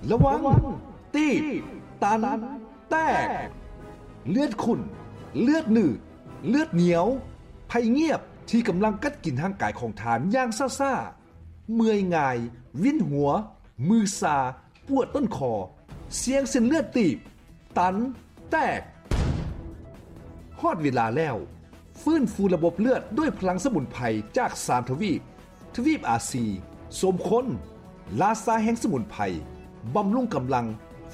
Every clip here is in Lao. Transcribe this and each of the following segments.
ລະວັງ ຕີບ ຕັນ ແຕກ ເລືອດຂຸ້ນ ເລືອດໜືດ ເລືອດໜຽວ ໄພງຽບທີ່ກຳລັງກັດກິນຮ່າງກາຍຂອງທ່ານຢ່າງຊ້າໆ, ເມື່ອຍງ່າຍ, ວິນຫົວ, ມືຊາ, ປວດຕົ້ນຄໍ, ສ່ຽງເສັ້ນເລືອດຕີບ, ຕັນ, ແຕກ. ຮອດເວລາແລ້ວ, ຟື້ນຟູລະບົບເລືອດດ້ວຍພະລັງສະໝຸນໄພຈາກສາມທະວີບ, ທະວີບອາຊີ, ສົມຄົນ, ລາຊາແຫ່ງສະໝຸນໄພ, ບຳລຸງກຳລັງ,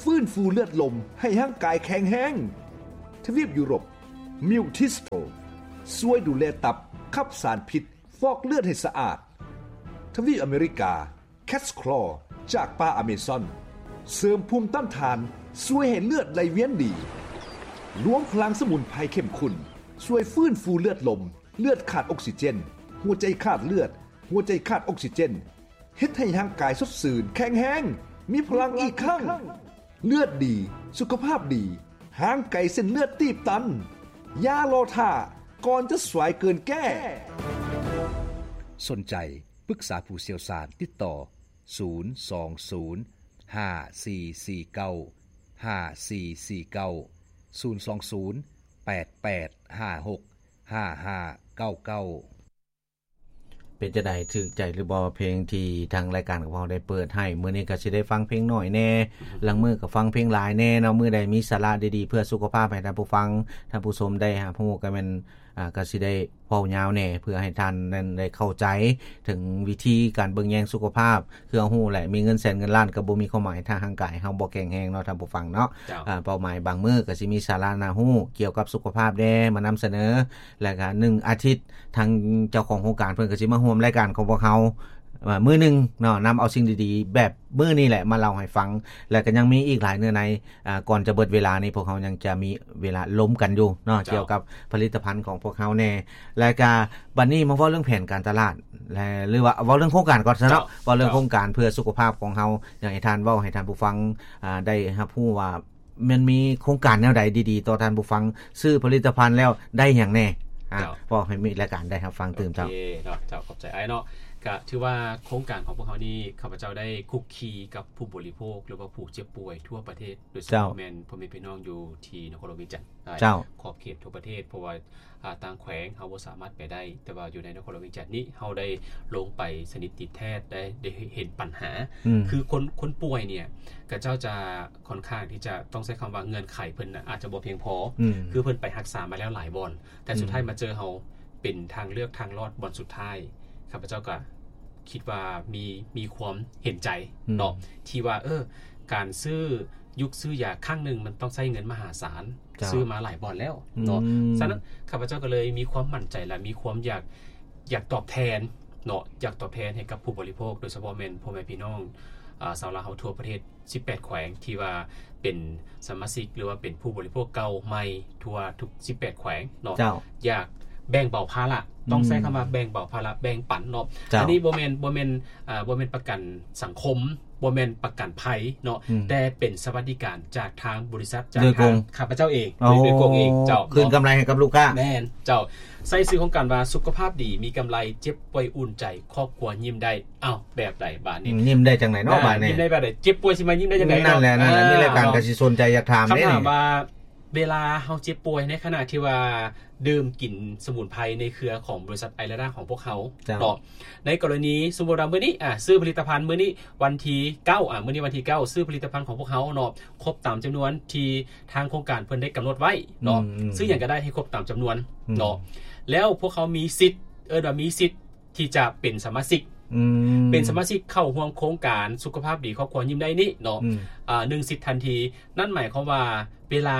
ຟື້ນຟູເລືອດລົມໃຫ້ຮ່າງກາຍແຂງແຮງ. ທະວີບຢູໂຣບ, ມິວທິສໂຕ, ຊ່ວຍດູແລຕັບ, ຂັບສານພິດ, ຟອກເລືອດໃຫ້ສະອາດ. ທະວີບອາເມລິກາ, ແຄດສະຄລໍຈາກປ່າອາເມຊອນ ເສີມພູມຕ້ານທານ, ຊ່ວຍໃຫ້ເລືອດໄຫຼວຽນດີ. ລວມພະລັງສະໝຸນໄພເຂັ້ມຂຸ້ນ ຊ່ວຍຟື້ນຟູເລືອດລົມ, ເລືອດຂາດອົກຊີເຈນ, ຫົວໃຈຂາດເລືອດ, ຫົວໃຈຂາດອົກຊີເຈນ, ເຮັດໃຫ້ຮ່າງກາຍສົດຊື່ນ, ແຂງແຮງ, ມີພະລັງອີກຄັ້ງ. ເລືອດດີ, ສຸຂະພາບດີ, ຫ່າງໄກເສັ້ນເລືອດຕີບຕັນ. ຢ່າລໍຖ້າ, ກ່ອນຈະສວາຍເກີນແກ້. ສົນໃຈ ປຶກສາຜູ້ຊ່ຽວຊານ, ຕິດຕໍ່ ສູນສອງສູນ ຫ້າສີ່ສີ່ເກົ້າ ຫ້າສີ່ສີ່ເກົ້າ ສູນສອງສູນ ແປດແປດຫ້າຫົກ ຫ້າຫ້າເກົ້າເກົ້າ. ເປັນຈັ່ງໃດ ຖືກໃຈຫຼືບໍ່ ເພງທີ່ທາງລາຍການຂອງເຮົາໄດ້ເປີດໃຫ້? ມື້ນີ້ກໍຊິໄດ້ຟັງເພງໜ້ອຍແດ່, ລາງມື້ກໍຟັງເພງຫຼາຍແດ່ເນາະ. ມື້ໃດມີສາລະດີໆເພື່ອສຸຂະພາບໃຫ້ທ່ານຜູ້ຟັງ, ທ່ານຜູ້ຊົມໄດ້ຮັບຮູ້ ກໍແມ່ນ ອ່າ ກໍຊິໄດ້ເວົ້າຍາວແດ່ ເພື່ອໃຫ້ທ່ານນັ້ນໄດ້ເຂົ້າໃຈເຖິງວິທີການເບິ່ງແຍງສຸຂະພາບ. ຄືເຮົາຮູ້ແຫຼະ ມີເງິນແສນເງິນລ້ານກໍບໍ່ມີຄວາມໝາຍ ຖ້າຮ່າງກາຍເຮົາບໍ່ແຂງແຮງເນາະ ທ່ານຜູ້ຟັງເນາະ. ເຈົ້າ. ອ່າ ເປົ້າໝາຍບາງມື້ກໍຊິມີສາລະໜ້າຮູ້ກ່ຽວກັບສຸຂະພາບແດ່ ມານຳສະເໜີ. ແລ້ວກໍໜຶ່ງອາທິດ ທາງເຈົ້າຂອງໂຄງການເພິ່ນກໍຊິມາຮ່ວມລາຍການຂອງພວກເຮົາ ອ່າ ມື້ໜຶ່ງເນາະ, ນຳເອົາສິ່ງດີໆແບບມື້ນີ້ແຫຼະມາເລົ່າໃຫ້ຟັງ. ແລ້ວກໍຍັງມີອີກຫຼາຍເນື້ອໃນ. ອ່າ ກ່ອນຈະເບິດເວລານີ້ ພວກເຮົາຍັງຈະມີເວລາລົມກັນຢູ່ເນາະ ເຈົ້າ ກ່ຽວກັບຜະລິດຕະພັນຂອງພວກເຮົາແດ່. ແລ້ວກະບັດນີ້ມາເວົ້າເລື່ອງແຜນການຕະຫຼາດ ແລະ ຫຼືວ່າເວົ້າເລື່ອງໂຄງການກ່ອນຊະເນາະ. ເຈົ້າ ເວົ້າເລື່ອງ ເຈົ້າ ໂຄງການເພື່ອສຸຂະພາບຂອງເຮົາ. ຢາກໃຫ້ທ່ານເວົ້າໃຫ້ທ່ານຜູ້ຟັງ ອ່າ ໄດ້ຮັບຮູ້ວ່າ ມັນມີໂຄງການແນວໃດດີໆຕໍ່ທ່ານຜູ້ຟັງ, ຊື້ຜະລິດຕະພັນແລ້ວໄດ້ຫຍັງແດ່? ອ່າ ເຈົ້າ ເວົ້າໃຫ້ມີລາຍການໄດ້ຮັບຟັງຕື່ມເຈົ້າ. ໂອເຄເນາະ ເຈົ້າ ຂອບໃຈອ້າຍເນາະ. ກະຖືວ່າໂຄງການຂອງພວກເຮົານີ້ ຂ້າພະເຈົ້າໄດ້ຄຸກຄີກັບຜູ້ບໍລິໂພກ ຫຼືວ່າຜູ້ເຈັບປ່ວຍທົ່ວປະເທດ ໂດຍສະເພາະ ເຈົ້າ ແມ່ນພໍ່ແມ່ພີ່ນ້ອງຢູ່ທີ່ນະຄອນຫຼວງວຽງຈັນ ເຈົ້າ ຂອບເຂດທົ່ວປະເທດ. ເພາະວ່າ ອ່າ ຕ່າງແຂວງເຮົາບໍ່ສາມາດໄປໄດ້, ແຕ່ວ່າຢູ່ໃນນະຄອນຫຼວງວຽງຈັນນີ້ ເຮົາໄດ້ລົງໄປສະໜິດຕິດແທດ ໄດ້ ໄດ້ເຫັນບັນຫາ. ອືມ ຄືຄົນ ຄົນປ່ວຍເນີ້ຍ ເຂົາເຈົ້າຈະຄ່ອນຂ້າງທີ່ຈະຕ້ອງໃຊ້ຄຳວ່າເງື່ອນໄຂເພິ່ນນະ ອາດຈະບໍ່ພຽງພໍ. ອືມ ຄືເພິ່ນໄປຮັກສາມາແລ້ວຫຼາຍບ່ອນ ແຕ່ ອືມ ສຸດທ້າຍມາເຈີເຮົາ ເປັນທາງເລືອກທາງລອດບ່ອນສຸດທ້າຍ. ຂ້າພະເຈົ້າກໍຄິດວ່າມີ ມີຄວາມເຫັນໃຈ ອືມ ເນາະ ທີ່ວ່າ ເອີ ການຊື້ ຢຸກຊື້ຢາຄັ້ງໜຶ່ງ ມັນຕ້ອງໃຊ້ເງິນມະຫາສານ ເຈົ້າ ຊື້ມາຫຼາຍບ່ອນແລ້ວເນາະ. ອືມ ສະນັ້ນ ຂ້າພະເຈົ້າກໍເລີຍມີຄວາມໝັ້ນໃຈ ແລະ ມີຄວາມຢາກ ຢາກຕອບແທນເນາະ ຢາກຕອບແທນໃຫ້ກັບຜູ້ບໍລິໂພກ ໂດຍສະເພາະແມ່ນພໍ່ແມ່ພີ່ນ້ອງ ອ່າ ຊາວລາວເຮົາທົ່ວປະເທດ ສິບແປດແຂວງ ທີ່ວ່າເປັນສະມາຊິກ ຫຼືວ່າເປັນຜູ້ບໍລິໂພກເກົ່າໃໝ່ທົ່ວທຸກສິບແປດແຂວງເນາະ. ເຈົ້າ ຢາກແບ່ງເບົາພາລະ ອືມ ຕ້ອງໃຊ້ຄຳວ່າແບ່ງເບົາພາລະ ແບ່ງປັນເນາະ. ເຈົ້າ ອັນນີ້ບໍ່ແມ່ນ ບໍ່ແມ່ນ ອ່າ ບໍ່ແມ່ນປະກັນສັງຄົມ ບໍ່ແມ່ນປະກັນໄພເນາະ ອືມ ແຕ່ເປັນສະຫວັດດີການຈາກທາງບໍລິສັດ ຈາກ ໂດຍກົງ ທາງຂ້າພະເຈົ້າເອງ ໂອ້ ໂດຍ ໂດຍກົງເອງ ເຈົ້າ ຄືນກຳໄລໃຫ້ກັບລູກຄ້າ. ແມ່ນ ເຈົ້າ. ໃສ່ຊື່ໂຄງການວ່າ ສຸຂະພາບດີ ມີກຳໄລ ເຈັບປ່ວຍອຸ່ນໃຈ ຄອບຄົວຍິ້ມໄດ້. ອ້າວ ແບບໃດບາດນີ້? ອືມ ຍິ້ມໄດ້ຈັ່ງໃດເນາະ ອ່າ ບາດນີ້? ຍິ້ມໄດ້ແບບໃດ? ເຈັບປ່ວຍຊິມາຍິ້ມໄດ້ຈັ່ງໃດ? ນັ້ນແຫຼະ ນັ້ນແຫຼະ ອ່າ ມີລາຍການກໍຊິສົນໃຈຢາກຖາມເດ້. ຄຳຖາມວ່າ ເວລາເຮົາເຈັບປ່ວຍ ໃນຂະນະທີ່ວ່າດື່ມກິນສະໝຸນໄພໃນເຄືອຂອງບໍລິສັດໄອລາດາຂອງພວກເຮົາ ເຈົ້າ ເນາະ ໃນກໍລະນີສົມມຸດວ່າມື້ນີ້ ອ່າ ຊື້ຜະລິດຕະພັນມື້ນີ້ວັນທີເກົ້າ ອ່າ ມື້ນີ້ວັນທີເກົ້າ ຊື້ຜະລິດຕະພັນຂອງພວກເຮົາເນາະ ຄົບຕາມຈຳນວນທີ່ທາງໂຄງການເພິ່ນໄດ້ກຳນົດໄວ້ເນາະ ອືມ ຊື້ຫຍັງກໍໄດ້ໃຫ້ຄົບຕາມຈຳນວນ ອືມ ເນາະ ແລ້ວພວກເຮົາມີສິດ ເອີ້ນວ່າມີສິດ ທີ່ຈະເປັນສະມາຊິກ ອືມ ເປັນສະມາຊິກເຂົ້າຮ່ວມໂຄງການສຸຂະພາບດີຄອບຄົວຍິ້ມໄດ້ນີ້ເນາະ ອືມ ອ່າ ໜຶ່ງສິດທັນທີ. ນັ້ນໝາຍຄວາມວ່າເວລາ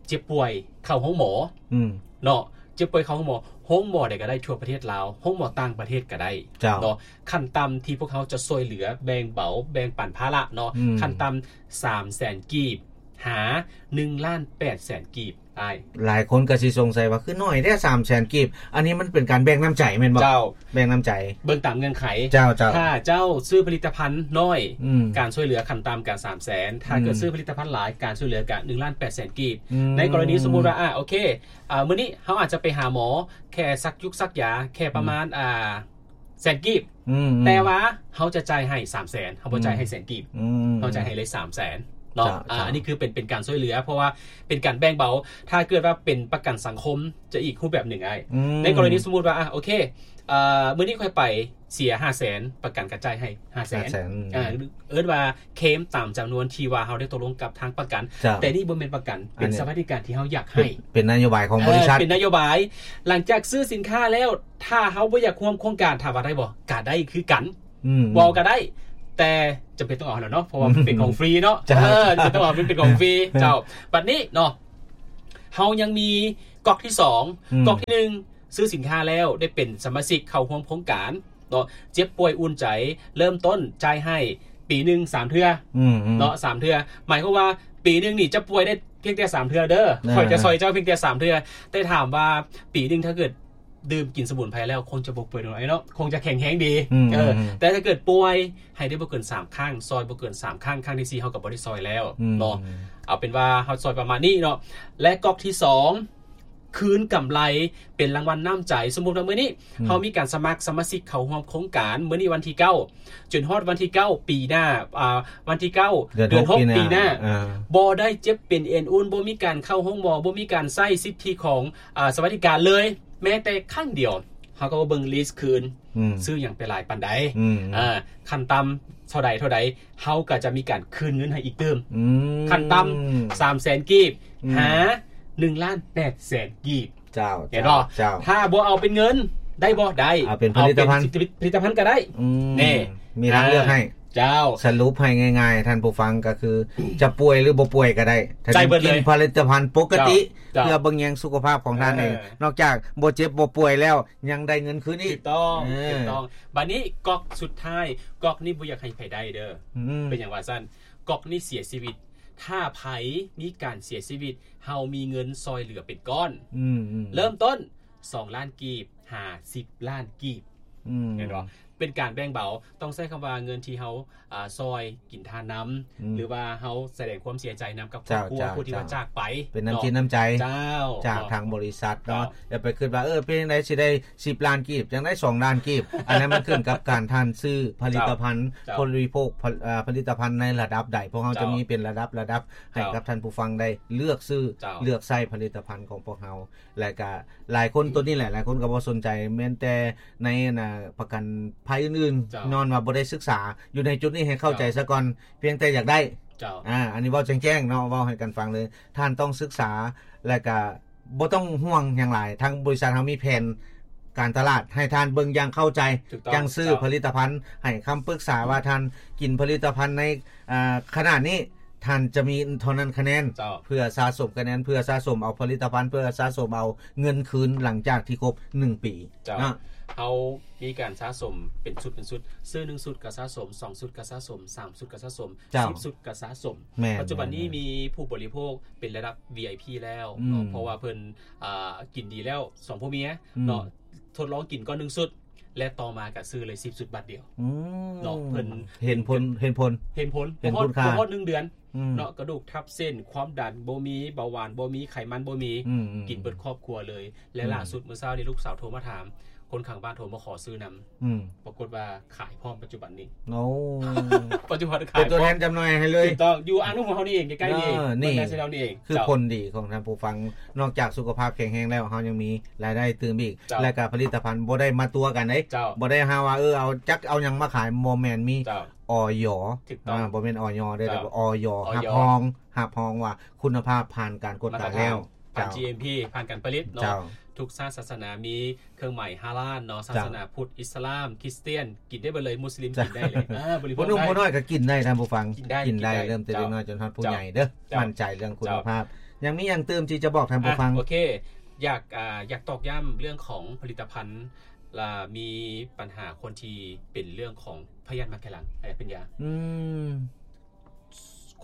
ເຈັບປ່ວຍເຂົ້າໂຮງໝໍ ອືມ ເນາະ ເຈັບປ່ວຍເຂົ້າໂຮງໝໍ ໂຮງໝໍໃດກໍໄດ້ທົ່ວປະເທດລາວ ໂຮງໝໍຕ່າງປະເທດກໍໄດ້ ເຈົ້າ ເນາະ ຂັ້ນຕ່ຳທີ່ພວກເຮົາຈະຊ່ວຍເຫຼືອແບ່ງເບົາແບ່ງປັນພາລະເນາະ ອືມ ຂັ້ນຕ່ຳສາມແສນກີບ ຫາໜຶ່ງລ້ານແປດແສນກີບ. ອ້າຍ ຫຼາຍຄົນກໍຊິສົງໄສວ່າຄືໜ້ອຍແທ້ ສາມແສນກີບ ອັນນີ້ມັນເປັນການແບ່ງນ້ຳໃຈແມ່ນບໍ່? ເຈົ້າ ແບ່ງນ້ຳໃຈ ເບິ່ງຕາມເງື່ອນໄຂ ເຈົ້າ ເຈົ້າ ຖ້າເຈົ້າຊື້ຜະລິດຕະພັນນ້ອຍ ອືມ ການຊ່ວຍເຫຼືອຂັ້ນຕ່ຳກະສາມແສນ ຖ້າເກີດ ອືມ ຊື້ຜະລິດຕະພັນຫຼາຍ ການຊ່ວຍເຫຼືອກະໜຶ່ງລ້ານແປດແສນກີບ ອືມ ໃນກໍລະນີສົມມຸດວ່າ ອ່າ ໂອເຄ ອ່າ ມື້ນີ້ເຮົາອາດຈະໄປຫາໝໍແຄ່ສັກຍຸກສັກຢາ ແຄ່ປະມານ ອືມ ອ່າ ແສນກີບ ອືມໆ ແຕ່ວ່າເຮົາຈະຈ່າຍໃຫ້ສາມແສນ ເຮົາບໍ່ຈ່າຍໃຫ້ແສນກີບ ອືມ ເຮົາຈ່າຍໃຫ້ເລີຍສາມແສນເນາະ ເຈົ້າ ອ່າ ເຈົ້າ ອັນນີ້ຄືເປັນ ເປັນການຊ່ວຍເຫຼືອ ເພາະວ່າເປັນການແບ່ງເບົາ ຖ້າເກີດວ່າເປັນປະກັນສັງຄົມຈະອີກຮູບແບບໜຶ່ງອ້າຍ ອືມ ໃນກໍລະນີສົມມຸດວ່າ ອ່າ ໂອເຄ ເອີ ມື້ນີ້ຂ້ອຍໄປເສຍຫ້າແສນ ປະກັນກໍຈ່າຍໃຫ້ຫ້າແສນ ຫ້າແສນ ອ່າ ເອີ້ນວ່າເຄມຕາມຈຳນວນທີ່ວ່າເຮົາໄດ້ຕົກລົງກັບທາງປະກັນ ເຈົ້າ ແຕ່ນີ້ບໍ່ແມ່ນປະກັນ ເປັນ ອັນນີ້ ສະຫວັດດີການທີ່ເຮົາຢາກໃຫ້ ເປັນ ເປັນນະໂຍບາຍຂອງບໍລິສັດ ເອີ ເປັນນະໂຍບາຍ ຫຼັງຈາກຊື້ສິນຄ້າແລ້ວ ຖ້າເຮົາບໍ່ຢາກຮ່ວມໂຄງການ ຖາມວ່າໄດ້ບໍ່? ກະໄດ້ຄືກັນ ອືມ ເວົ້າກະໄດ້ ແຕ່ຈຳເປັນຕ້ອງເອົາແລ້ວເນາະ ເພາະວ່າມັນເປັນຂອງຟຣີເນາະ ເຈົ້າ ເອີ ຈຳເປັນຕ້ອງເອົາ ມັນເປັນຂອງຟຣີ ເຈົ້າ ບັດນີ້ເນາະ ເຮົາຍັງມີກອກທີສອງ ອືມ ກອກທີໜຶ່ງ ຊື້ສິນຄ້າແລ້ວ ໄດ້ເປັນສະມາຊິກເຂົ້າຮ່ວມໂຄງການເນາະ ເຈັບປ່ວຍອຸ່ນໃຈ ເລີ່ມຕົ້ນຈ່າຍໃຫ້ປີໜຶ່ງສາມເທື່ອ ອືມໆ ເນາະ ສາມເທື່ອ ໝາຍຄວາມວ່າປີໜຶ່ງນີ້ຈະປ່ວຍໄດ້ພຽງແຕ່ສາມເທື່ອເດີ ອ່າ ຂ້ອຍຈະຊ່ອຍເຈົ້າພຽງແຕ່ສາມເທື່ອ ແຕ່ຖາມວ່າປີໜຶ່ງຖ້າເກີດດື່ມກິນສະໝຸນໄພແລ້ວ ຄົງຈະບໍ່ປ່ວຍເນາະ ເນາະ ຄົງຈະແຂງແຮງດີ ອືມ ເອີ ອືມ ແຕ່ຖ້າເກີດປ່ວຍ ໃຫ້ໄດ້ບໍ່ເກີນສາມຄັ້ງ ຊ່ອຍບໍ່ເກີນສາມຄັ້ງ ຄັ້ງທີສີ່ເຮົາກໍບໍ່ໄດ້ຊ່ອຍແລ້ວ ອືມ ເນາະ ເອົາເປັນວ່າເຮົາຊ່ອຍປະມານນີ້ເນາະ ແລະກອກທີສອງ ຄືນກຳໄລເປັນລາງວັນນ້ຳໃຈ ສົມມຸດວ່າມື້ນີ້ ອືມ ເຮົາມີການສະໝັກສະມາຊິກເຂົ້າຮ່ວມໂຄງການ ມື້ນີ້ວັນທີເກົ້າ ຈົນຮອດວັນທີເກົ້າປີໜ້າ ອ່າ ວັນທີເກົ້າ ເດືອນ ເດືອນຫົກ ຫົກປີໜ້າ ປີໜ້າ ອ່າ ບໍ່ໄດ້ເຈັບເປັນເອັນອຸ່ນ ບໍ່ມີການເຂົ້າໂຮງໝໍ ບໍ່ມີການໃຊ້ສິດທິຂອງ ອ່າ ສະຫວັດດີການເລີຍ ແມ້ແຕ່ຄັ້ງດຽວ ເຮົາກໍມາເບິ່ງລິສຄືນ ອືມ ຊື້ຫຍັງໄປຫຼາຍປານໃດ ອືມ ເອີ ຂັ້ນຕ່ຳເທົ່າໃດເທົ່າໃດ ເຮົາກໍຈະມີການຄືນເງິນໃຫ້ອີກຕື່ມ ອືມ ຂັ້ນຕ່ຳສາມແສນກີບ ອືມ ຫາໜຶ່ງລ້ານແປດແສນກີບ ເຈົ້າ ເຫັນບໍ່? ເຈົ້າ ເຈົ້າ ຖ້າບໍ່ເອົາເປັນເງິນໄດ້ບໍ່? ໄດ້ ເອົາເປັນຜະລິດຕະພັນ ເອົາເປັນຜະລິດຕະພັນກໍໄດ້ ອືມ ນີ້ ມີທາງເລືອກໃຫ້ ອ່າ ເຈົ້າ ສະຫຼຸບໃຫ້ງ່າຍໆ ທ່ານຜູ້ຟັງ ກໍຄືຈະປ່ວຍ ຫຼື ບໍ່ປ່ວຍກໍໄດ້ ທ່ານກິນຜະລິດຕະພັນປົກກະຕິ ເຈົ້າ ເພື່ອເບິ່ງແຍງສຸຂະພາບຂອງທ່ານເອງ ເອີ ນອກຈາກບໍ່ເຈັບບໍ່ປ່ວຍແລ້ວ ຍັງໄດ້ເງິນຄືນອີກ ຖືກຕ້ອງ ເອີ ຖືກຕ້ອງ ບັດນີ້ກອກສຸດທ້າຍ ກອກນີ້ບໍ່ຢາກໃຫ້ໃຜໄດ້ເດີ ອືມ ເປັນຫຍັງວ່າຊັ້ນ? ກອກນີ້ເສຍຊີວິດ ຖ້າໃຜມີການເສຍຊີວິດ ເຮົາມີເງິນຊ່ອຍເຫຼືອເປັນກ້ອນ ອືມໆ ເລີ່ມຕົ້ນສອງລ້ານກີບ ຫາສິບລ້ານກີບ ອືມ ເຫັນບໍ່? ເປັນການແບ່ງເບົາ ຕ້ອງໃຊ້ຄຳວ່າເງິນທີ່ເຮົາ ອ່າ ຊ່ອຍກິນທານນຳ ອືມ ຫຼືວ່າເຮົາສະແດງຄວາມເສຍໃຈນຳກັບຄອບຄົວ ເຈົ້າ ຜູ້ທີ່ວ່າຈາກໄປ ເປັນນ້ຳຈິດນ້ຳໃຈ ເຈົ້າ ຈາກທາງບໍລິສັດເນາະ ເຈົ້າ ຢ່າໄປຄິດວ່າ ເອີ ເປັນຈັ່ງໃດຊິໄດ້ສິບລ້ານກີບ ຈັ່ງໄດ້ສອງລ້ານກີບ ອັນນັ້ນມັນຂຶ້ນກັບການທ່ານຊື້ຜະລິດຕະພັນ ເຈົ້າ ບໍລິໂພກ ເອີ ຜະລິດຕະພັນໃນລະດັບໃດ ພວກເຮົາ ເຈົ້າ ຈະມີເປັນລະດັບ ລະດັບໃຫ້ ເຈົ້າ ກັບທ່ານຜູ້ຟັງໄດ້ເລືອກຊື້ ເຈົ້າ ເລືອກໃຊ້ຜະລິດຕະພັນຂອງພວກເຮົາ ແລະກະຫຼາຍຄົນ ໂຕນີ້ແຫຼະ ຫຼາຍຄົນກໍບໍ່ສົນໃຈ ແມ່ນແຕ່ໃນ ອັນນ່າ ປະກັນໄພອື່ນໆ ເຈົ້າ ຍ້ອນວ່າບໍ່ໄດ້ສຶກສາ ຢູ່ໃນຈຸດນີ້ໃຫ້ເຂົ້າໃຈ ເຈົ້າ ສາກ່ອນ ພຽງແຕ່ຢາກໄດ້ ເຈົ້າ ອ່າ ອັນນີ້ເວົ້າແຈ້ງໆເນາະ ເວົ້າໃຫ້ກັນຟັງເລີຍ ທ່ານຕ້ອງສຶກສາ ແລະກະບໍ່ຕ້ອງຫ່ວງຫຍັງຫຼາຍ ທາງບໍລິສັດເຮົາມີແຜນການຕະຫຼາດໃຫ້ທ່ານເບິ່ງຢ່າງເຂົ້າໃຈ ຖືກຕ້ອງ ຈັ່ງຊື້ ເຈົ້າ ຜະລິດຕະພັນ ໃຫ້ຄຳປຶກສາວ່າທ່ານກິນຜະລິດຕະພັນໃນ ອ່າ ຂະໜາດນີ້ ທ່ານຈະມີເທົ່ານັ້ນຄະແນນ ເຈົ້າ ເພື່ອສະສົມຄະແນນ ເພື່ອສະສົມເອົາຜະລິດຕະພັນ ເພື່ອສະສົມເອົາເງິນຄືນຫຼັງຈາກທີ່ຄົບໜຶ່ງປີ ເຈົ້າ ເນາະ ເຮົາມີການສະສົມເປັນຊຸດເປັນຊຸດ ຊື້ໜຶ່ງຊຸດກໍສະສົມ ສອງຊຸດກໍສະສົມ ສາມຊຸດກໍສະສົມ ເຈົ້າ ສິບຊຸດກໍສະສົມ ແມ່ນ ປັດຈຸບັນນີ້ ແມ່ນ ມີຜູ້ບໍລິໂພກເປັນລະດັບ ວີໄອພີ ແລ້ວເນາະ ອືມ ເພາະວ່າເພິ່ນ ອ່າ ກິນດີແລ້ວ ສອງຜົວເມຍ ອືມ ເນາະ ທົດລອງກິນກ່ອນໜຶ່ງຊຸດ ແລະຕໍ່ມາກໍຊື້ເລີຍສິບຊຸດບາດດຽວ ອືມ ເນາະ ເພິ່ນເຫັນຜົນ ເຫັນຜົນ ເຫັນຜົນ ເຫັນຄຸນຄ່າ ບໍ່ຮອດ ບໍ່ຮອດໜຶ່ງເດືອນ ອືມ ເນາະ ກະດູກທັບເສັ້ນ ຄວາມດັນບໍ່ມີ ເບົາຫວານບໍ່ມີ ໄຂມັນບໍ່ມີ ອືມໆ ກິນເບິດຄອບຄົວເລີຍ ແລະ ອືມ ລ່າສຸດມື້ເຊົ້ານີ້ລູກສາວໂທມາຖາມ ຄົນຂ້າງບ້ານໂທມາຂໍຊື້ນຳ ອືມ ປາກົດວ່າຂາຍພ້ອມປັດຈຸບັນນີ້ ໂອ້ ປັດຈຸບັນຂາຍ ເປັນຕົວແທນຈຳໜ່າຍໃຫ້ເລີຍ ຖືກຕ້ອງ ຢູ່ອ່າງນຳຫົວເຮົານີ້ເອງ ໃກ້ໆນີ້ ເອີ ນີ້ ເບິ່ງໄດ້ແຖວນີ້ເອງ ຄື ເຈົ້າ ຜົນດີຂອງທ່ານຜູ້ຟັງ ນອກຈາກສຸຂະພາບແຂງແຮງແລ້ວ ເຮົາຍັງມີລາຍໄດ້ຕື່ມອີກ ເຈົ້າ ແລະກະຜະລິດຕະພັນບໍ່ໄດ້ມາຕົວະກັນເດ້ ເຈົ້າ ບໍ່ໄດ້ຫາວ່າ ເອີ ເອົາຈັກເອົາຫຍັງມາຂາຍ ບໍ່ແມ່ນ ມີ ເຈົ້າ ອຢ ຖືກຕ້ອງ ອ່າ ບໍ່ແມ່ນ ອຢ ເດີ້ ເຈົ້າ ແຕ່ວ່າ ອຢ ອຢ ຮັບຮອງ ຮັບຮອງວ່າຄຸນນະພາບຜ່ານການກວດກາແລ້ວ ມາດຕະຖານ ຜ່ານ ເຈົ້າ ຈີເອັມພີ ຜ່ານການຜະລິດເນາະ ເຈົ້າ ທຸກຊາດສາສະໜາມີເຄື່ອງໝາຍຮາລານເນາະ ເຈົ້າ ສາສະໜາພຸດ ອິດສະລາມ ຄຣິສຕຽນ ກິນໄດ້ເບິດເຜູ້ອໜຸ່ມຜູ້ນ້ອຍກໍກິນໄດ້ ທ່ານຜູ້ຟັງ ກິນໄດ້ ກິນໄດ້ ເລີ່ມແຕ່ເດັກນ້ອຍຈົນຮອດຜູ້ໃຫຍ່ເດີ້ ໝັ້ນໃຈເລື່ອງຄຸນນະພາບ ຍັງມີຫຍັງຕື່ມທີ່ຈະບອກທ່ານຜູ້ຟັງ ໂອເຄ ຢາກ ອ່າ ຢາກຕອກຢ້ຳເລື່ອງຂອງຜະລິດຕະພັນ ລະມີບັນຫາຄົນທີ່ເປັນເລື່ອງຂອງພະຍາດໝາກໄຂ່ຫຼັງ ອາຈານປັນຍາ ອືມ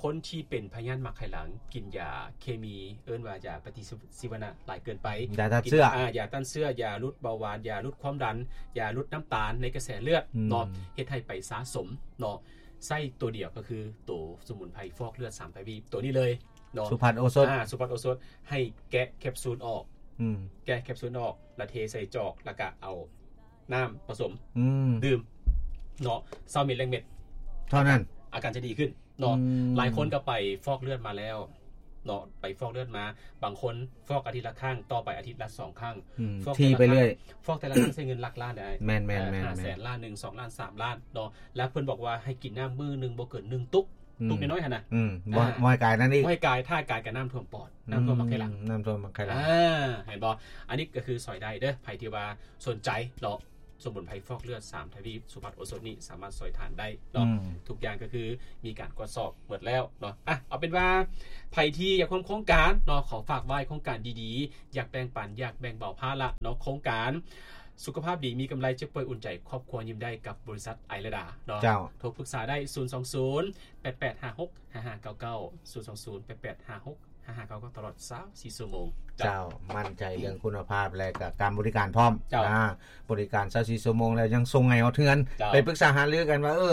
ຄົນທີ່ເປັນພະຍາດໝາກໄຂ່ຫຼັງ ກິນຢາເຄມີ ເອີ້ນວ່າຢາປະຕິຊີວະນະຫຼາຍເກີນໄປ ຢາຕ້ານເຊື້ອ ຢາຕ້ານເຊື້ອ ຢາຫຼຸດເບົາຫວານ ຢາຫຼຸດຄວາມດັນ ຢາຫຼຸດນ້ຳຕານໃນກະແສເລືອດເນາະ ເຮັດໃຫ້ໄປສະສົມເນາະ ໃຊ້ໂຕດຽວກໍຄືໂຕສະໝຸນໄພຟອກເລືອດສາມທະວີບ ໂຕນີ້ເລີຍເນາະ ສຸພັດໂອສົດ ອາ ສຸພັດໂອສົດ ໃຫ້ແກະແຄບຊູນອອກ ອືມ ແກະແຄບຊູນອອກ ລະເທໃສ່ຈອກ ລະກະເອົາ ນ້ຳປະສົມ ອືມ ດື່ມເນາະ ຊາວມິນແລງເມັດ ເທົ່ານັ້ນ ອາການຈະດີຂຶ້ນເນາະ ອືມ ຫຼາຍຄົນກໍໄປຟອກເລືອດມາແລ້ວເນາະ ໄປຟອກເລືອດມາ ບາງຄົນຟອກອາທິດລະຄັ້ງ ຕໍ່ໄປອາທິດລະສອງຄັ້ງ ອືມ ຟອກ ຖີ່ໄປເລື້ອຍ ແຕ່ລະຄັ້ງ ຟອກແຕ່ລະຄັ້ງໃຊ້ເງິນຫຼັກລ້ານໄດ້ ແມ່ນໆໆໆ ເອີ ຫ້າແສນ ລ້ານໜຶ່ງ ສອງລ້ານ ສາມລ້ານເນາະ ແລະ ເພິ່ນບອກວ່າໃຫ້ກິນນ້ຳມື້ໜຶ່ງບໍ່ເກີນໜຶ່ງຕຸກ ອືມ ຕຸກນ້ອຍໆຫັ້ນນະ ອືມ ບໍ່ ອ່າ ບໍ່ໃຫ້ກາຍນັ້ນອີກ ບໍ່ໃຫ້ກາຍ ຖ້າກາຍກໍນ້ຳຖ້ວມປອດ ອືມ ນ້ຳຖ້ວມມັກໄຄຫຼັງ ນ້ຳຖ້ວມມັກໄຄຫຼັງ ອ່າ ເຫັນບໍ່ ອັນນີ້ກໍຄືຊ່ອຍໄດ້ເດີ ໃຜທີ່ວ່າສົນໃຈເນາະ ສະໝຸນໄພຟອກເລືອດສາມທະວີບ ສຸພັດໂອສົດນີ້ສາມາດຊ່ອຍທ່ານໄດ້ເນາະ ອືມ ທຸກຢ່າງກໍຄືມີການກວດສອບໝົດແລ້ວເນາະ ອ່ະ ເອົາເປັນວ່າໃຜທີ່ຢາກຮ່ວມໂຄງການເນາະ ຂໍຝາກໄວ້ໂຄງການດີໆ ຢາກແບ່ງປັນ ຢາກແບ່ງເບົາພາລະເນາະ ໂຄງການສຸຂະພາບດີມີກຳໄລ ເຈັບປ່ວຍອຸ່ນໃຈ ຄອບຄົວຍິ້ມໄດ້ ກັບບໍລິສັດໄອລະດາເນາະ ເຈົ້າ ໂທປຶກສາໄດ້ ສູນສອງສູນ ແປດແປດຫ້າຫົກ ຫ້າຫ້າເກົ້າເກົ້າ ສູນສອງສູນ ແປດແປດຫ້າຫົກ ຫ້າຫ້າເກົ້າເກົ້າ ຕະຫຼອດຊາວສີ່ຊົ່ວໂມງ ເຈົ້າ ເຈົ້າ ໝັ້ນໃຈເລື່ອງຄຸນນະພາບ ແລະ ກະການບໍລິການພ້ອມ ເຈົ້າ ນະ ບໍລິການຊາວສີ່ຊົ່ວໂມງ ແລ້ວຍັງສົ່ງໃຫ້ຮອດເຮືອນ ເຈົ້າ ໄປປຶກສາຫາລືກັນວ່າ ເອີ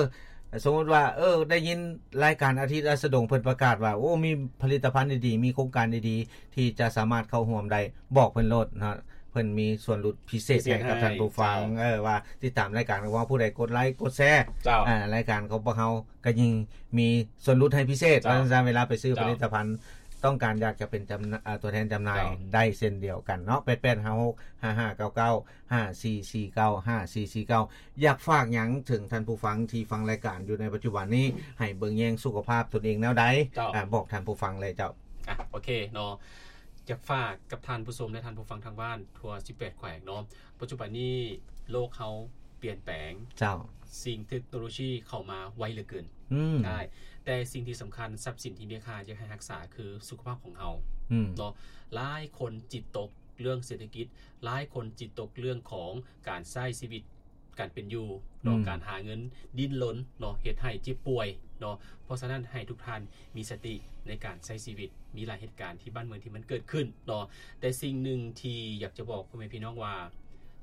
ສົມມຸດວ່າ ເອີ ໄດ້ຍິນລາຍການອາທິດລາຊະດົງ ເພິ່ນປະກາດວ່າ ໂອ້ ມີຜະລິດຕະພັນດີໆ ມີໂຄງການດີໆ ທີ່ຈະສາມາດເຂົ້າຮ່ວມໄດ້ ບອກເພິ່ນໂລດເນາະ ເພິ່ນມີສ່ວນຫຼຸດພິເສດ ພິເສດໃຫ້ກັບ ໃຫ້ ທ່ານຜູ້ຟັງ ເຈົ້າ ເອີ ວ່າຕິດຕາມລາຍການຂອງພວກເຮົາ ຜູ້ໃດກົດໄລກົດແຊ ເຈົ້າ ອ່າ ລາຍການຂອງພວກເຮົາ ກໍຍິ່ງມີສ່ວນຫຼຸດໃຫ້ພິເສດ ເຈົ້າ ວ່າຊັ້ນຊະ ເວລາໄປຊື້ ເຈົ້າ ຜະລິດຕະພັນ ຕ້ອງການຢາກຈະເປັນຈຳ ເອີ ຕົວແທນຈຳໜ່າຍ ເຈົ້າ ໄດ້ເຊັ່ນດຽວກັນເນາະ ແປດແປດຫ້າຫົກ ຫ້າຫ້າເກົ້າເກົ້າ ຫ້າສີ່ສີ່ເກົ້າ ຫ້າສີ່ສີ່ເກົ້າ ຢາກຝາກຫຍັງເຖິງທ່ານຜູ້ຟັງທີ່ຟັງລາຍການຢູ່ໃນປັດຈຸບັນນີ້ ໃຫ້ເບິ່ງແຍງສຸຂະພາບຕົນເອງແນວໃດ? ເຈົ້າ ອາ ບອກທ່ານຜູ້ຟັງເລີຍເຈົ້າ. ອາ ໂອເຄເນາະ ຢາກຝາກກັບທ່ານຜູ້ຊົມ ແລະ ທ່ານຜູ້ຟັງທາງບ້ານທົ່ວສິບແປດແຂວງເນາະ ປັດຈຸບັນນີ້ໂລກເຮົາປ່ຽນແປງ ເຈົ້າ ສິ່ງເທັກໂນໂລຊີເຂົ້າມາໄວເຫຼືອເກີນ ອືມ ໃຊ່ ແຕ່ສິ່ງທີ່ສຳຄັນ ຊັບສິນທີ່ມີຄ່າຢາກໃຫ້ຮັກສາຄືສຸຂະພາບຂອງເຮົາ ອືມ ເນາະ ຫຼາຍຄົນຈິດຕົກເລື່ອງເສດຖະກິດ ຫຼາຍຄົນຈິດຕົກເລື່ອງຂອງການໃຊ້ຊີວິດ ການເປັນຢູ່ເນາະ ອືມ ການຫາເງິນ ດີ້ນລົນເນາະ ເຮັດໃຫ້ເຈັບປ່ວຍເນາະ ເພາະສະນັ້ນໃຫ້ທຸກທ່ານມີສະຕິໃນການໃຊ້ຊີວິດ ມີຫຼາຍເຫດການທີ່ບ້ານເມືອງທີ່ມັນເກີດຂຶ້ນເນາະ ແຕ່ສິ່ງໜຶ່ງທີ່ຢາກຈະບອກພໍ່ແມ່ພີ່ນ້ອງວ່າ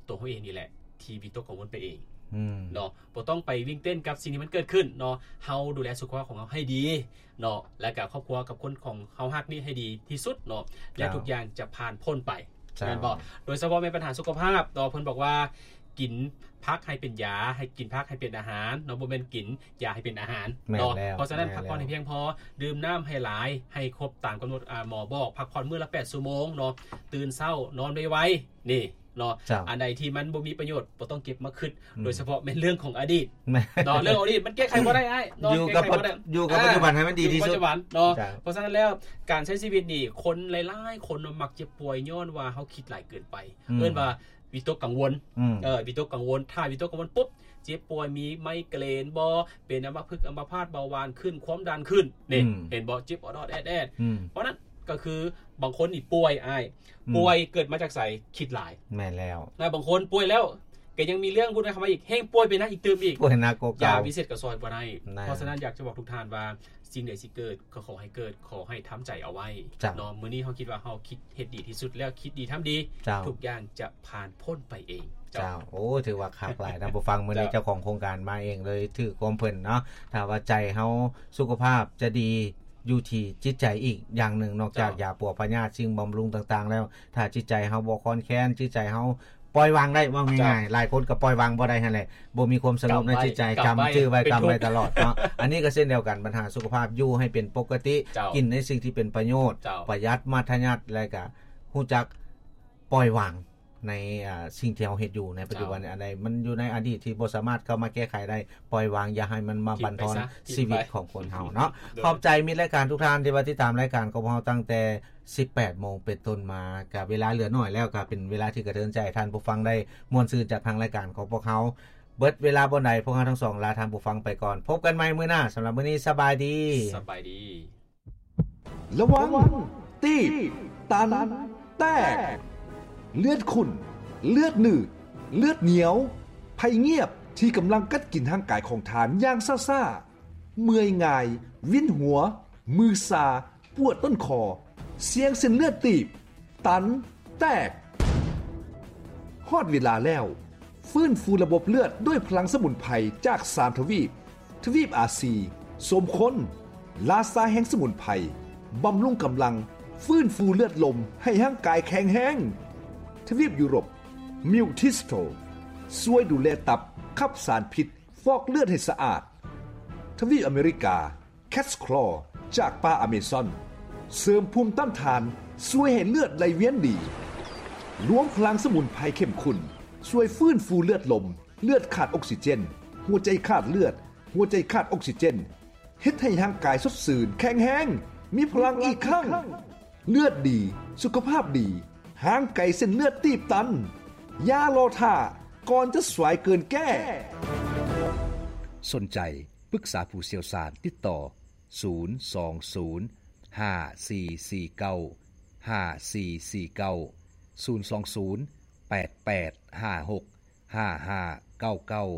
ຕົວເຮົາເອງນີ້ແຫຼະທີ່ວິຕົກກັງວົນໄປເອງ ອືມ ເນາະ ບໍ່ຕ້ອງໄປວິ່ງເຕັ້ນກັບສິ່ງທີ່ມັນເກີດຂຶ້ນເນາະ ເຮົາດູແລສຸຂະພາບຂອງເຮົາໃຫ້ດີ ເນາະ ແລະກະຄອບຄົວກັບຄົນຂອງເຮົາຮັກນີ້ໃຫ້ດີທີ່ສຸດເນາະ ແລະ ເຈົ້າ ທຸກຢ່າງຈະຜ່ານພົ້ນໄປ ເຈົ້າ ແມ່ນບໍ່? ໂດຍສະເພາະແມ່ນບັນຫາສຸຂະພາບເນາະ ເພິ່ນບອກວ່າກິນຜັກໃຫ້ເປັນຢາ ໃຫ້ກິນຜັກໃຫ້ເປັນອາຫານເນາະ ບໍ່ແມ່ນກິນຢາໃຫ້ເປັນອາຫານເນາະ ແມ່ນແລ້ວ ເພາະສະນັ້ນ ແມ່ນແລ້ວ ພັກຜ່ອນໃຫ້ພຽງພໍ ດື່ມນ້ຳໃຫ້ຫຼາຍ ໃຫ້ຄົບຕາມກຳນົດ ອາ ໝໍບອກ ພັກຜ່ອນມື້ລະແປດຊົ່ວໂມງເນາະ ຕື່ນເຊົ້ານອນໄວໆ ນີ້ ເນາະ ເຈົ້າ ອັນໃດທີ່ມັນບໍ່ມີປະໂຫຍດ ບໍ່ຕ້ອງເກັບມາຄິດ ອືມ ໂດຍສະເພາະແມ່ນເລື່ອງຂອງອະດີດ ແມ່ນ ເນາະ ເລື່ອງອະດີດມັນແກ້ໄຂບໍ່ໄດ້ອ້າຍເນາະ ຢູ່ກັບ ແກ້ໄຂບໍ່ໄດ້ ຢູ່ກັບ ອ່າ ປັດຈຸບັນໃຫ້ມັນດີທີ່ສຸດ ຢູ່ປັດຈຸບັນເນາະ ເຈົ້າ ເພາະສະນັ້ນແລ້ວ ການໃຊ້ຊີວິດນີ້ ຄົນຫຼາຍໆຄົນເນາະ ມັກເຈັບປ່ວຍຍ້ອນວ່າເຮົາຄິດຫຼາຍເກີນໄປ ອືມ ເອີ້ນວ່າວິຕົກກັງວົນ ອືມ ເອີ ວິຕົກກັງວົນ ຖ້າວິຕົກກັງວົນປຸບ ເຈັບປ່ວຍ ມີໄມເກຣນບໍ ເປັນອຳມະພຶກ ອຳມະພາດ ເບົາຫວານຂຶ້ນ ຄວາມດັນຂຶ້ນ ນີ້ ອືມ ເຫັນບໍ່ ເຈັບອອດໆແອດໆ ອືມ ເພາະນັ້ນ ກໍຄືບາງຄົນນີ້ປ່ວຍອ້າຍ ອືມ ປ່ວຍເກີດມາຈາກໃສ? ຄິດຫຼາຍ ແມ່ນແລ້ວ ແລະບາງຄົນປ່ວຍແລ້ວ ກໍຍັງມີເລື່ອງວຸ້ນວາຍເຂົ້າມາອີກ ແຮງປ່ວຍໄປໜັກອີກຕື່ມອີກ ປ່ວຍໜັກກວ່າເກົ່າ ຢາວິເສດກໍຊ່ອຍບໍ່ໄດ້ ແມ່ນ ເພາະສະນັ້ນຢາກຈະບອກທຸກທ່ານວ່າ ສິ່ງໃດຊິເກີດກໍຂໍໃຫ້ເກີດ ຂໍໃຫ້ທຳໃຈເອົາໄວ້ ເຈົ້າ ເນາະ ມື້ນີ້ເຮົາຄິດວ່າເຮົາຄິດເຮັດດີທີ່ສຸດແລ້ວ ຄິດດີທຳດີ ເຈົ້າ ທຸກຢ່າງຈະຜ່ານພົ້ນໄປເອງ ເຈົ້າ ເຈົ້າ ໂອ້ ຖືວ່າຄັກຫຼາຍ ທ່ານຜູ້ຟັງ ມື້ນີ້ ເຈົ້າ ເຈົ້າຂອງໂຄງການມາເອງເລີຍ ຖືກຄວາມເພິ່ນເນາະ ຖ້າວ່າໃຈເຮົາ ສຸຂະພາບຈະດີ ຢູ່ທີ່ຈິດໃຈອີກຢ່າງໜຶ່ງ ນອກຈາກ ເຈົ້າ ຢາປົວພະຍາດ ສິ່ງບຳລຸງຕ່າງໆແລ້ວ ຖ້າຈິດໃຈເຮົາບໍ່ຄອນແຄນ ຈິດໃຈເຮົາປ່ອຍວາງໄດ້ ເວົ້າງ່າຍໆ ເຈົ້າ ຫຼາຍຄົນກໍປ່ອຍວາງບໍ່ໄດ້ຫັ້ນແຫຼະ ບໍ່ມີຄວາມສະຫງົບໃນຈິດໃຈ ກຳໄວ້ ກຳຈື່ໄວ້ ກຳໄວ້ຕະຫຼອດເນາະ ເປັນທຸກ ອັນນີ້ກໍເຊັ່ນດຽວກັນ ບັນຫາສຸຂະພາບ ຢູ່ໃຫ້ເປັນປົກກະຕິ ເຈົ້າ ກິນໃນສິ່ງທີ່ເປັນປະໂຫຍດ ເຈົ້າ ປະຢັດ ມັດທະຍັດ ແລະກະຮູ້ຈັກປ່ອຍວາງ ໃນ ອ່າ ສິ່ງທີ່ເຮົາເຮັດຢູ່ໃນປັດຈຸບັນ ເຈົ້າ ອັນໃດມັນຢູ່ໃນອະດີດທີ່ບໍ່ສາມາດເຂົ້າມາແກ້ໄຂໄດ້ ປ່ອຍວາງ ຢ່າໃຫ້ມັນມາບັນທອນຊີວິດຂອງຄົນເຮົາເນາະ ໂດຍ ຂອບໃຈມິດລາຍການທຸກທ່ານທີ່ວ່າຕິດຕາມລາຍການຂອງເຮົາຕັ້ງແຕ່ສິບແປດໂມງເປັນຕົ້ນມາ ກະເວລາເຫຼືອໜ້ອຍແລ້ວ ກະເປັນເວລາທີ່ກະເທີນໃຈ ໃຫ້ທ່ານຜູ້ຟັງໄດ້ມ່ວນຊື່ນຈາກທາງລາຍການຂອງພວກເຮົາ ເບິດເວລາບ່ອນໃດ ພວກເຮົາທັງສອງລາທ່ານຜູ້ຟັງໄປກ່ອນ ພົບກັນໃໝ່ມື້ໜ້າ ສຳລັບມື້ນີ້ ສະບາຍດີ ສະບາຍດີ. ລະວັງ ຕີບ ຕັນ ແຕກ ເລືອດຂຸ້ນ ເລືອດໜືດ ເລືອດໜຽວ ໄພງຽບທີ່ກຳລັງກັດກິນຮ່າງກາຍຂອງທ່ານຢ່າງຊ້າໆ ເມື່ອຍງ່າຍ ວິນຫົວ ມືຊາ ປວດຕົ້ນຄໍ ສ່ຽງເສັ້ນເລືອດຕີບ ຕັນ ແຕກ. ຮອດເວລາແລ້ວ ຟື້ນຟູລະບົບເລືອດດ້ວຍພະລັງສະໝຸນໄພຈາກສາມທະວີບ, ທະວີບອາຊີ, ສົມຄົນ, ລາຊາແຫ່ງສະໝຸນໄພ, ບຳລຸງກຳລັງ, ຟື້ນຟູເລືອດລົມໃຫ້ຮ່າງກາຍແຂງແຮງ. ທະວີບຢູໂຣບ, ມິວທິສໂຕ, ຊ່ວຍດູແລຕັບ, ຂັບສານພິດ, ຟອກເລືອດໃຫ້ສະອາດ. ທະວີບອາເມລິກາ Cat's Claw ຈາກປ່າອາເມຊອນ ເສີມພູມຕ້ານທານ, ຊ່ວຍໃຫ້ເລືອດໄຫຼວຽນດີ. ລວມພະລັງສະໝຸນໄພເຂັ້ມຂຸ້ນ ຊ່ວຍຟື້ນຟູເລືອດລົມ, ເລືອດຂາດອົກຊີເຈນ, ຫົວໃຈຂາດເລືອດ, ຫົວໃຈຂາດອົກຊີເຈນ, ເຮັດໃຫ້ຮ່າງກາຍສົດຊື່ນ, ແຂງແຮງ, ມີພະລັງອີກຄັ້ງ. ເລືອດດີ, ສຸຂະພາບດີ, ຫ່າງໄກເສັ້ນເລືອດຕີບຕັນ. ຢ່າລໍຖ້າ, ກ່ອນຈະສວາຍເກີນແກ້. ສົນໃຈປຶກສາຜູ້ຊ່ຽວຊານ, ຕິດຕໍ່ ສູນສອງສູນ ຫ້າສີ່ສີ່ເກົ້າ ຫ້າສີ່ສີ່ເກົ້າ, ສູນສອງສູນ ແປດແປດຫ້າຫົກ ຫ້າຫ້າເກົ້າເກົ້າ.